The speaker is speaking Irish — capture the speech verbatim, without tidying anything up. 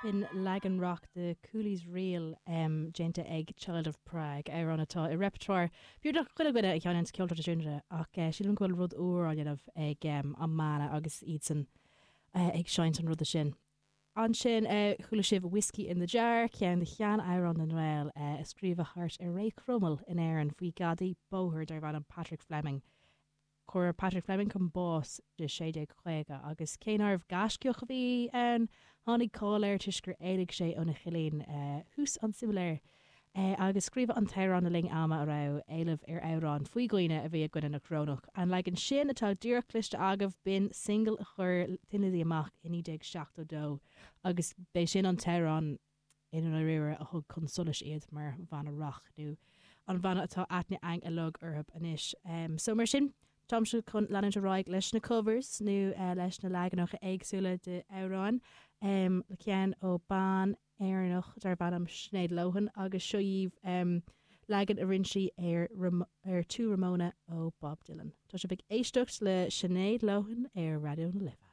B'in leagan rac de Cooley's Reel um, déanta ag Child of Prague amhrán atá i repertoire beagnach chuile dhuine a sheinneann ceol traidisiúnta ach uh, sílim go bhfuil rud úr á dhéanamh ag um, an mbanna agus iadsan uh, ag seinnt an ruda sin. Ansin uh, chuala sibh Whiskey in the Jar ceann de shean-amhráin na nGael uh, a scríobhadh thart ar ré Chromail in Éirinn faoi gadaí bóthair darbh ainm Patrick Fleming. Cuireadh Patrick Fleming chun báis i sé déag caoga agus cé nárbh gaiscíoch a bhí ann tháinig cáil air toisc gur éalaigh sé óna chillín uh, thuas an simléar. Uh, agus scríobhadh an t-amhrán le linn ama a raibh éileamh ar amhráin faoi dhaoine a bhí i gcoinne na corónach. An leagan sin atá díreach cloiste agaibh b'in single a chuir Thin Lizzy amach i naoi déag seachtó dó agus b'é sin an t-amhrán i ndáiríre a thug chun solais iad mar bhanna rac nó an bhanna atá aithne againn uilig orthu anois. Um, so mar sin, Táimse chun leanúint ar aghaidh leis na covers nó uh, leis na leaganacha éagsúla de amhráin um, le ceann ó bean Éireannach darb ainm Sinéad Lohan agus seo í um, leagan a rinne sí ar, ar To Ramona ó Bob Dylan. Tá sibh ag éisteacht le Sinéad Lohan ar Raidió na Life.